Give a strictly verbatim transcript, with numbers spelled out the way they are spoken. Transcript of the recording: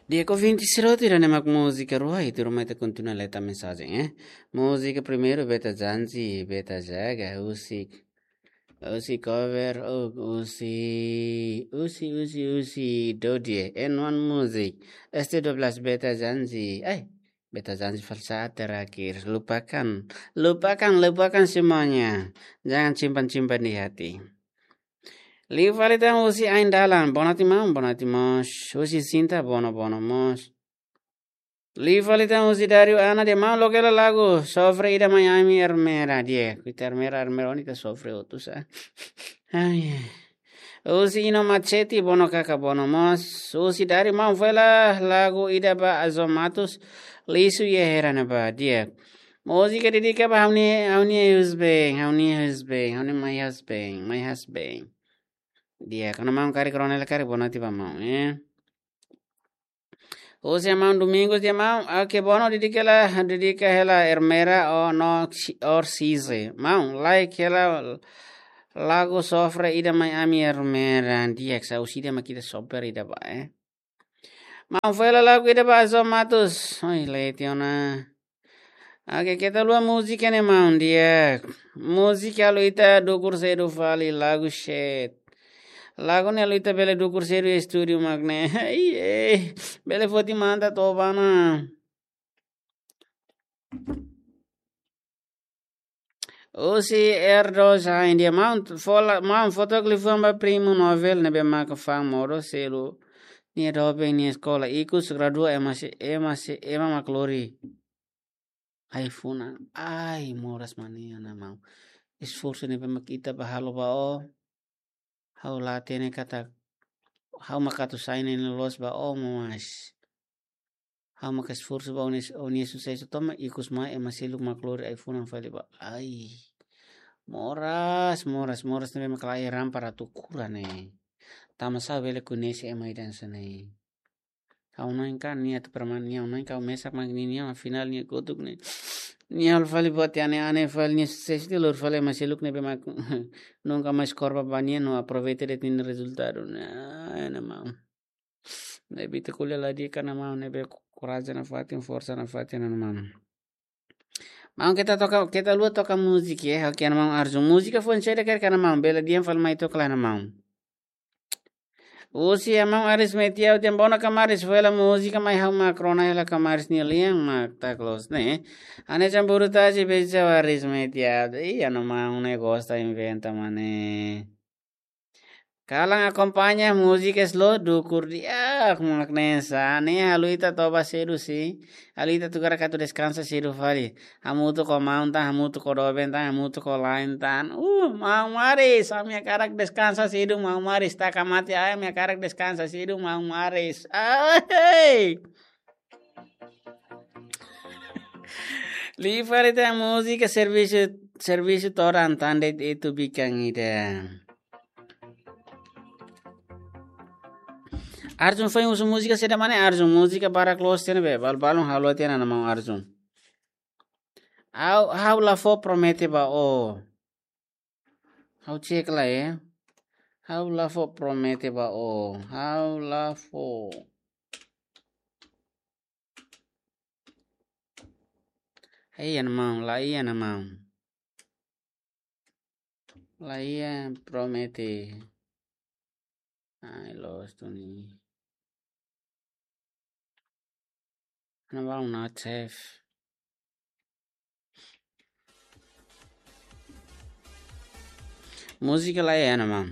Di'ak, ouvinte sira hotu, ida-ne'e mak múzika rua, i tuirmai ita kontinua leta mensajen, eh. Múzika primeiru, Beta Janji, Beta Jaga, husi, husi cover, oh, husi, husi, husi, husi, Dodie, N one Music, S T dua belas, Beta Janji, ai, Beta Janji fali sa'e terakhir, lupakan, lupakan, lupakan semuanya, jangan simpan-simpan di hati. Liu fali tan husi Ain Dalan, boa noite maun, boa noite mós. Husi Sinta, boa noite, boa noite mós. Liu fali tan husi Dario Ana, dehan maun, loke hela lagu Sofre Ida Mai Ami Ermera, di'ak. Ita ermera, ermera, ó-nia ita sofre hotu sá. Ai, ai. Husi Ino Machete, boa noite kaka, boa noite mós. Husi Dario, maun, fó hela lagu ida ba Azon Matos, Lixo e Errei ne'ebá, di'ak. Múzika dedika ba ha'u-nia, ha'u-nia husband, ha'u-nia husband, ha'u-nia my husband, my husband. Di'ak, kona maun karik rona hela karik boa noite ba maun, eh. Husi maun Domingos dehan maun, oke, boa noite, dedika hela, dedika hela Ermera ou no si-, or Size. Maun, like hela lagu Sofre Ida Mai Ami Ermera, di'ak, sá husi ida mak ita sofre ida ba, eh. Maun, fó hela lagu ida ba Azon Matos. Oi, leti ona. Oke, keta haluha múzika ne'e maun, di'ak. Múzika halo ita dukur sedu fali, lagu shit. Lagu ne'e halo ita bele dukur sedu iha estúdiu mak ne'e. Ai, eh, bele foti manta toba ona. Husi Erdo Zain dehan maun, fó hela, maun, fó to'ok liafuan ba primu Novel ne'ebé maka fa'an modo selu nia doben nia eskola, ikus gradua ema sei, ema sei, ema mak lori ai-funan. Ai, moras mane, ana maun. Esforsu ne'ebé mak ita bá halo ba ó, ha'u la hatene katak ha'u mak atu sai ne'e loloos ba ó mós. Ha'u mak esforsu ba ó-nia, ó-nia susesu to'o mai ikus mai ema seluk mak lori ai-funan fali ba. Ai. Moras, moras, moras ne'ebé mak la iha raan para atu kura ne'e. Tanba sá bele koñese ema ida hanesan ne'e. Ha'u-nia oan kan nia atu perman nia oan kan mesak mak nia, nia afinál nia kotuk ne'e. Nia halo fali buat ida ane-ane fali nia susesu ida lori fali ema seluk ne'ebé mak nunka mais kór ba nia no aproveita de'it nia rezultadu. Ai, ana maun. Ne'ebé ita ko'alia la di'ak, ana maun, ne'ebé korajen nafatin, forsa nafatin, ana maun. Maun, keta toka, keta haluha toka múzika, eh, oke, ana maun Arjun. Múzika foin saida karik, ana maun, bele dehan fali mai took lai, ana maun. Husi maun Aris Metiaud dehan bono kamaris, fó hela múzika mai ha'u mak rona hela kamaris nia lian mak tak loos ne'e. Ane campur tasi beja Aris Metiaud. Ih, ana maun ne'e gosta inventa mane. Kalan akompaña múzika slow dukur di'ak mak ne'e sá, ne'e halo ita toba sedu sih. Halo ita tuku hakarak atu deskansa sedu fali. Hamutuk ho maun tan, hamutuk ho doben tan, hamutuk ho la'en tan. Uh, maun Maris, ami hakarak deskansa sedu, maun Maris. Taka mate ai, ami hakarak deskansa sedu, maun Maris. Ai! Liu fali tan múzika servisu, servisu todan tan de'it ita bikan ida. Arjun foin husu múzika saida mane Arjun, múzika barak loos tiha ona be, balu-balun halo tiha ona, ana maun Arjun. Ha'u, ha'u la fó promete ba ó. Ha'u cek lai, eh. Ha'u la fó promete ba ó. Ha'u la fó. Hei, ana maun, la iha, ana maun. La iha promete. Ai, loos duni. Ana maun, not safe. Múzika la iha, ana maun.